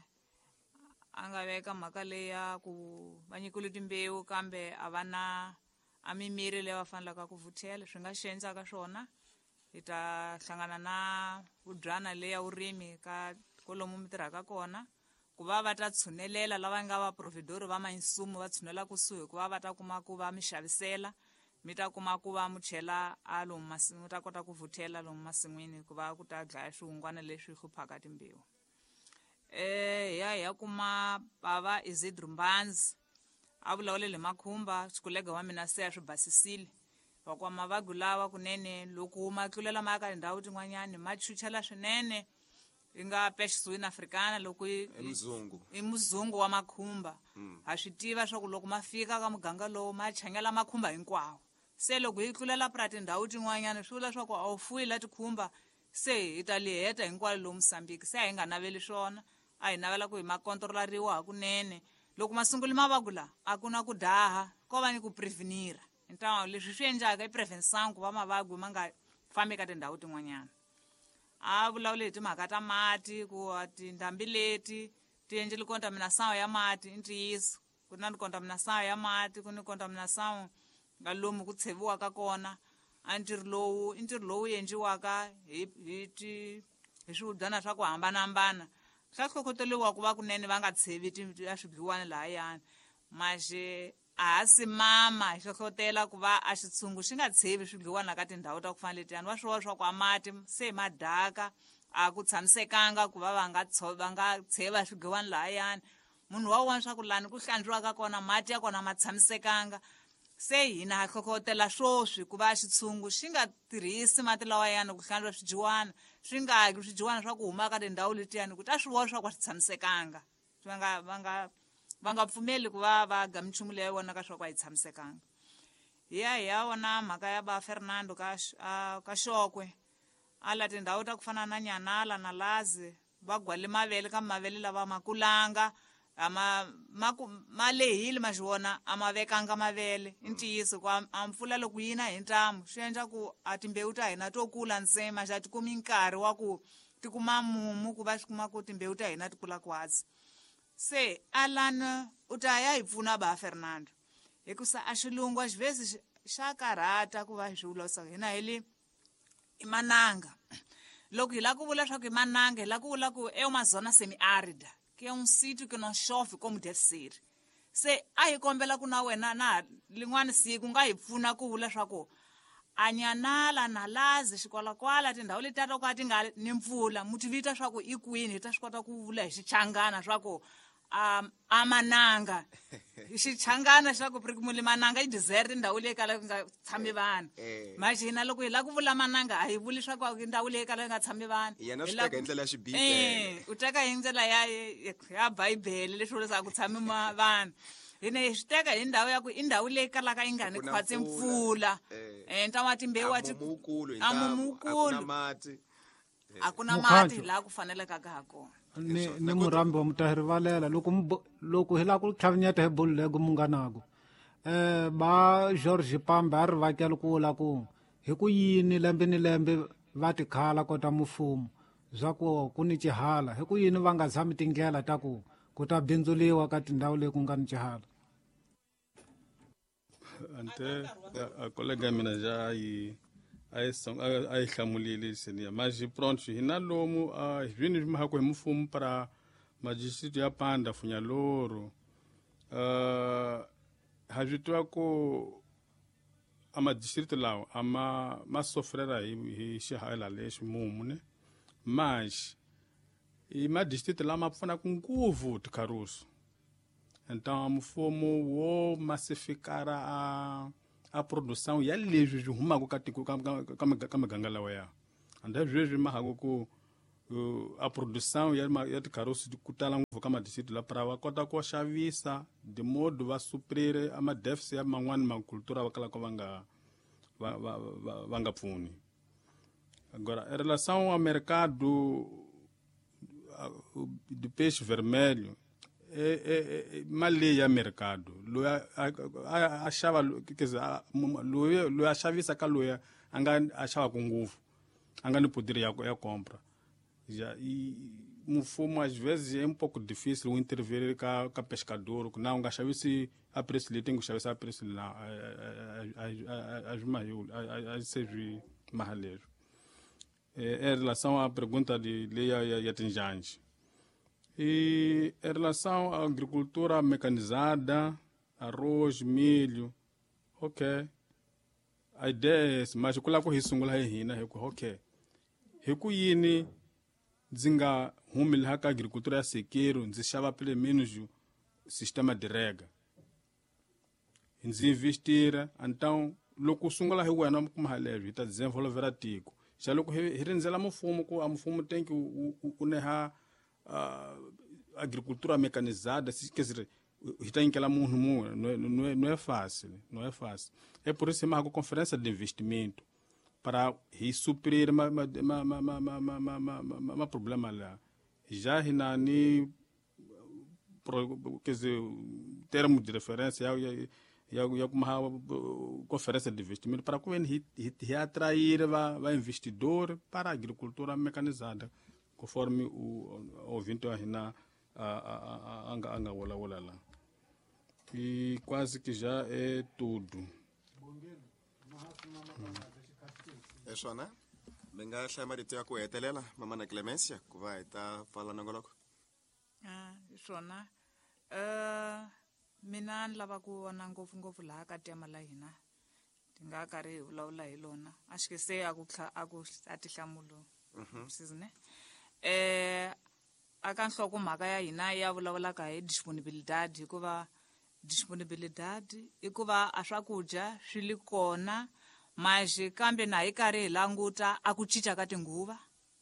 nga veka mhaka leyi ya ku va nyikiwile timbewu kambe a va na a mimiri leyi va fanelaka ku vuthela. Swi nga xi endlaka swona, hi ta hlangana na vudyana leyi ya vurimi ka kwalomu mi tirhaka kona, ku va va ta tshunelela lava nga va providor va mainsumu va tshunela kusuhi, ku va va ta kuma ku va mi xavisela, mi ta kuma ku va mu chela a lomu mi ta kota ku vuthela lomu masin'wini ku va ku ta dlaya swihungwana leswi hluphaka timbewu. Hi ya kuma bava Isidro Mbanzi a vulavulele makhumba, xikolega wa mina se a swi basisile va kwa mavabyi lawa kunene loko ma tlulela ma ya ka tindhawu tin'wanyani ma chuchela swinene, yi nga peste africana loko i muzungu, i muzungu wa makhumba. Ha swi tiva swa ku loko ma fika ka muganga lowu ma changela makhumba hinkwawo, se loko yi tlulela pra tindhawu tin'wanyana swi vula swa ku a wu fuyi la tikhumba, se hi ta li heta hinkwalo lowu Mosambiki. Se a hi nga naveli swona, a hi navela ku hi ma kontrolariwa hakunene. Loko ma sunguli mavabyi la a ku na ku daha, ko va ni ku prevenira. Então leswi swi endlaka i prevention ku va mavabyi ma nga fambi ka tindhawu tin'wanyana. A vulavule hi timhaka ta mati, ku tindhambi leti ti endlile contamination ya mati. I ntiyiso ku na contamination ya mati, ku ni contamination nga lomu ku tsheviwaka kona. A ntirho lowu i ntirho lowu endliwaka hi hi swivudyana swa ku hambanahambana, swa hlohloteriwa ku va kunene va nga tshevi a swidliwani lahayani. Maxe a ha simama hi hlohlotela ku va a xitshungu xi nga tshevi swidliwana ka tindhawu ta ku fana letiyani. Va swi vona swa ku a mati se ma daka, a ku tshamisekanga ku va va nga tsheva swidliwani lahayani. Munhu wa vona swa ku lani ku hlantswiwaka kona mati ya kona ma tshamisekanga. Se hina ha hlohlotela swoswi ku va xitshungu xi nga tirhisi mati lawayani ku hlantswa swidyiwana, swi nga ki swidyiwana swa ku huma ka tindhawu letiyani, ku ta swi vona swa ku a swi tshamisekanga. Va nga pfumeli ku va va ga minchumu leyi vonaka swa ku a yi tshamisekanga. Hi ya vona mhaka ya ba Fernando ka Xokwe, a la tindhawu ta ku fana na Nyanala na Lazi va gwale mavele, kambe mavele lava ma kulanga, ma lehile ma xi vona a ma vekanga mavele. I ntiyiso ku a mpfula loko yi na hi ntamu swi endla ku a timbewu ta hina to kula ntsena, xa ti kumi nkarhi wa ku ti kuma mumu ku va swi kuma ku timbewu ta hina ti kula kwatsi. Se Alan u ta ya hi pfuna ba Fernando, hikusa a xilungu a xivhesi xa karhata ku va hi swi vula hina hi le i mananga. Loko hi lava ku vula swa ku i mananga, hi lava ku vula ku é uma zona semiárida, que é um sítio que não chove como deve ser. Se a hi kombela ku na wena na lin'wana siku nga hi pfuna ku vula swa ku a Nyanala na Lazi xikwalakwala tindhawu letiya to ka ti nga ni mpfula mu ti vita swa ku i kwini, hi ta swi kota ku vula hi xichangana swa ku a mananga. Hi xichangana xa ku muli mananga i desert, ndhawu leyi kalaka ku nga tshami vanhu. Manje hina loko hi lava ku vula mananga a hi vuli swa ku ndhawu leyi kalaka ku nga tshami vanhu. Yena swi teka hi ndlela ya xibibele. U teka hi ndlela ya Bibele leswi vulaka ku tshami vanhu. Hina hi swi teka hi ndhawu ya ku i ndhawu leyi kalaka yi nga ni khwatsi mpfula. Ntamu timbewu a a mumukulu. A ku na mati laha ku faneleka ka ha kona. Ni murambi wa mutahirivalela loko hi lava ku tlhavinyeta hi bulu lego munganako. Ba George Pambe a ri vakela ku vula ku hi ku yini lembe ni lembe va tikhala kota mufumo swa ku ku ni xihala, hi ku yini va nga zami tindlela ta ku ku ta bindzuliwa ka tindhawu leyi ku nga ni xihala. Ante a colega mina já yi a yi hlamulile seniya mas pronto hina lomu hi vini mahako hi mufumo para madistrito ya Panda Funhalouro, ha swi tiva ku a madistrito lawa a ma sofrera hi xihala lexi mumu ne. Mas i madistrito lama pfunaka ngopfu tikharusu. Então mfumo wo massificar a produção ya leswi swi humaka ka tiko ka miganga lawa ya. And leswi mahaka ku a produção ya tikharusu ku tala ngopfu ka madistrito la para va kota ku xavisa de modo va suprir a ma-déficit ya man'wani makultura va kalaka va nga pfuni. Agora, em relação ao mercado de peixe vermelho, mali leyi ya mercado loyi a xava, quer dizer, loyi a xavisa ka loyi a nga a xavaka ngopfu, a nga ni poder ya compra. Já, e mfumo às vezes é um pouco difícil o intervir ka pescador, ku na u nga xavisi a preço leyi tem ku xavisa a preço la a swi a se swi maha leswi. Em relação à pergunta de lei ya tinjanja. E em relação à agricultura mecanizada, arroz, milho, ok. A ideia é essa, mas ku lava ku hi sungula hi hina hi ku ok. Hi ku yini ndzi nga humi laha ka agricultura ya sequeiro, ndzi xava pelo menos sistema de rega. Ndzi investira, então loko u sungula hi wena u kuma leswi hi ta desenvolvera tiko. Xa loko hi rindzela mfumo ku a mfumo tem que u neha agricultura mecanizada, quer dizer, hi ta nyikela munhu mun'we, não é fácil, não é fácil. É por isso que marca conferência de investimento para hi suprir ma problema lá. Já hi na ni, quer dizer, termo de referência ya kuma conferência de investimento para como hi atrair va investidor para a agricultura mecanizada, conforme o ouvinte a hina a nga wula lá. E quase que já é tudo. É swona mi nga hlaya marito ya ku hetelela mamana Clemencia ku va hi ta pfala nongoloko. Hi swona. Mina ni lava ku vona ngopfungopfu laha ka tema la hina ti nga karhi hi vulavula hi lona a xi se a ku a tihlamulo sizine. Aka nhlokomhaka ya hina ya vulavulaka hi disponibilidade, hikuva disponibilidade i ku va a swakudya swi li kona mas kambe na hi karhi hi languta a ku cinca ka tinguva,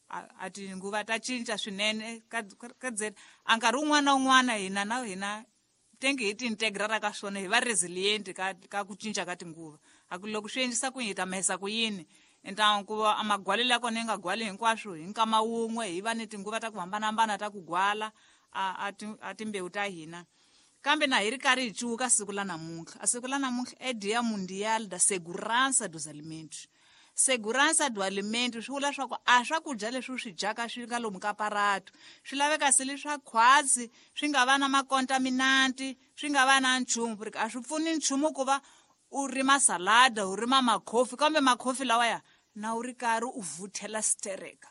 a tinguva ta cinca swinene ka a nkarhi wun'wana na wun'wana hina na hina tengi hi ti integrara ka swona hi va resilient ka ku cinca ka tinguva. A ku loko swi endlisa ku yini hi ta mahisa ku yini, então ku va a magwalelo ya kona yi nga gwali hinkwaswo hi nkama wun'we, hi va ni tinguva ta ku hambanahambana ta ku gwala a timbewu ta hina. Kambe na hi ri karhi hi cuka siku la namuntlha, a siku la namuntlha é Dia Mundial da Segurança dos Alimentos. Segurança do alimento swi vula swa ku a swakudya leswi u swi dyaka swi nga lomu ka paratu swi laveka se leswa khwatsi, swi nga va na makontaminanti, swi nga va na nchumu, porque a swi pfuni nchumu ku va u rima salada, u rima makhofi, kambe makhofi lawaya na u ri karhi u vuthela stereka.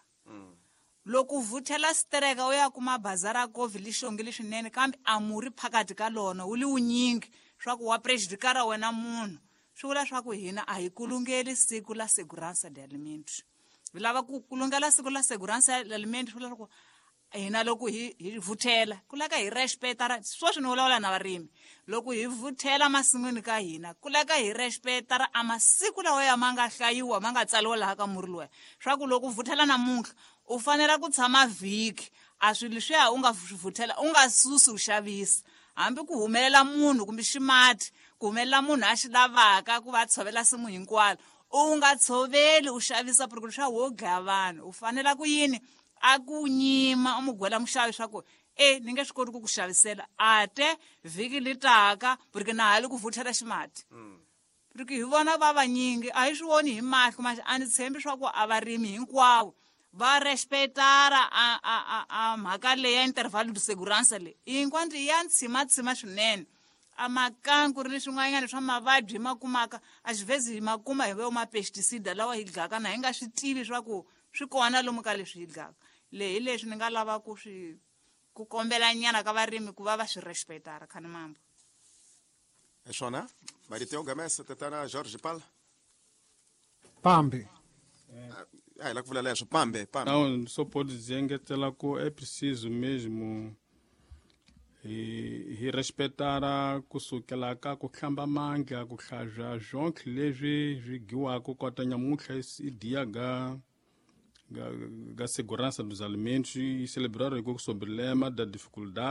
Loko u vuthela stereka u ya kuma bazara kofi li xongile swinene, kambe a murhi phakathi ka lona wu li wunyingi swa ku wa prejudikara wena munhu. Swi vula swa ku hina a hi kulungeli siku la segurança de alimentos. Hi lava ku kulungela siku la segurança de alimentos, swi vula swa ku hina loko hi vuthela ku laka hi respecta, sweswi ni vulavula na varimi, loko hi vuthela masin'wini ka hina ku laka hi respecta a masiku lawa ya ma nga hlayiwa ma nga tsariwa laha ka murhi luwa, swa ku loko u vuthela namuntlha u fanele ku tshama vhiki, a swilo leswiya u nga swi vuthela u nga susi u xavisa, hambi ku humelela munhu kumbe ximati, ku humelela munhu a xi lavaka ku va tshovela simu hinkwalo, u nga tshoveli u xavisa porque leswiya wo dlaya vanhu. U fanela ku yini a ku nyima u mu gwela muxavi swa ku ni nge swi koti ku ku xavisela ate vhiki li taka porque na ha li ku vuthela ximati. Porque hi vona va vanyingi a hi swi voni hi mahlo, mas a ni tshembi swa ku a varimi hinkwavo va respectara a mhaka leyi ya intervalo de segurança leyi hinkwanto ya ntshimatshima swinene. A makanku ri ni swin'wanyana swa mavabyi hi ma kumaka a xivhezi hi ma kuma hi vo ma-pesticida lawa hi dlaka na hi nga swi tivi swa ku swi kona lomu ka leswi hi dlaka. Leyi hi leswi ni nga lava ku swi ku kombela nyana ka varimi ku va va swi respectara khani mambo. Hi swona marito yo gamesa tatana George Pal Pambi. A hi la ku vula leswo pambe pambe. Não, só pode dizer engetela ku é preciso mesmo hi respeitar kusukela ka ku hlamba mandla ku hlazwa zwonke leswi swi dyiwaka kota nyamuntlha i dia ga segurança dos alimentos e celebrar o problema da dificuldade.